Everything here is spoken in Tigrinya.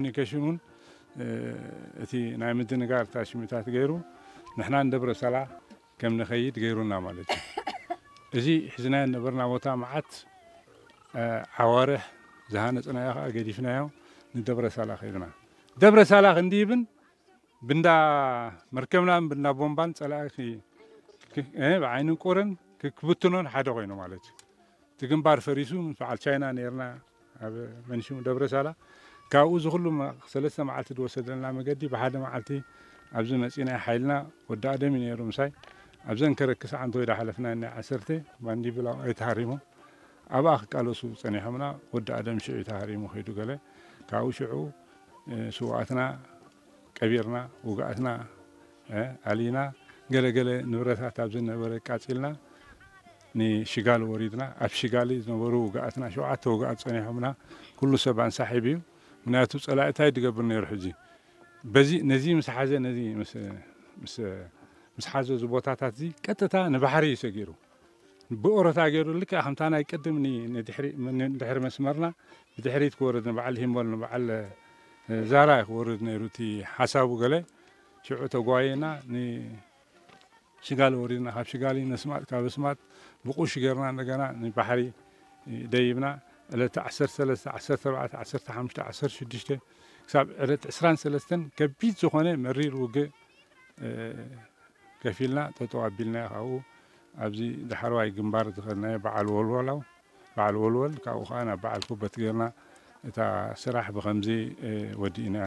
ኮሚኒኬሽን እውን እቲ ናይ ምድንጋር ታሽሚታት ገይሩ ንሕና ንደብረ ሳላ ከም ንኸይድ ገይሩና ማለት እዩ። እዚ ሒዝናዮ ነበርና ቦታ መዓት ዓዋርሕ ዝሃነፅናዮ ከዓ ገዲፍናዮ ንደብረ ሳላ ከይድና። ደብረ ሳላ ክንድይብን ብንዳ መርከብናን ብንዳ ቦምባን ፀላኢ ብዓይኒ ቁርን ክብትኖን ሓደ ኮይኑ ማለት እዩ። እቲ ግንባር ፈሪሱ ምስ በዓል ቻይና ነርና ኣብ መንሽሙ ደብረ ሳላ። ካብኡ እዚ ኩሉ ሰለስተ መዓልቲ ዝወሰደልና መገዲ ብሓደ መዓልቲ ኣብዚ መፂና ሓይልና ወዲ ኣደም እዩ ነይሩ ምሳይ። ኣብዘን ከረክስ ዓንቶ ኢዳ ሓለፍና ናይ ዓሰርተ ባንዲብላ ኣይተሃሪሙ ኣብኣ ክቃለሱ ፀኒሖምና። ወዲ ኣደም ሽዑ ተሃሪሙ ከይዱ ገለ ካብኡ ሽዑ ስውኣትና ቀቢርና ውግኣትና ኣሊና ገለገለ ንብረታት ኣብ ዝነበረ ቃፂልና ንሽጋል ወሪድና ኣብ ሽጋሊ ዝነበሩ ውግኣትና ሸውዓተ ውግኣት ፀኒሖምና። ኩሉ ሰብ ኣንሳሒብ እዩ። ምክንያቱ ፀላእታይ ድገብር ነይሩ ሕዚ በዚ ነዚ ምስ ሓዘ ነዚ ምስ ሓዘ እዚ ቦታታት እዚ ቀጥታ ንባሕሪ እዩ ሰጊሩ። ብኦሮታ ገይሩ ልክዕ ከምታ ናይ ቅድም ንድሕሪ መስመርና ብድሕሪት ክወርድ ንበዓል ሂምቦል ንበዓል ዛራ ክወርድ ነይሩ እቲ ሓሳቡ ገለ ሽዑ ተጓየና ንሽጋሊ ወሪድና ካብ ሽጋሊ ነስማጥ ካብ ስማጥ ብቁሽ ገርና እንደገና ንባሕሪ ደይብና ዕለተ ዓሰርተ ሰለስተ ዓሰርተ ኣርባዕተ ዓሰርተ ሓሙሽተ ዓሰርተ ሽዱሽተ ክሳብ ዕለት ዕስራን ሰለስተን ከቢድ ዝኾነ መሪር ውግእ ከፊልና ጠጠው ኣቢልና ካብኡ ኣብዚ ዳሕረዋይ ግንባር ዝኸድናዮ በዓል ወልወላው በዓል ወልወል ካብኡ ከዓ ናብ በዓል ኩበት ገርና እታ ስራሕ ብከምዚ ወዲእና።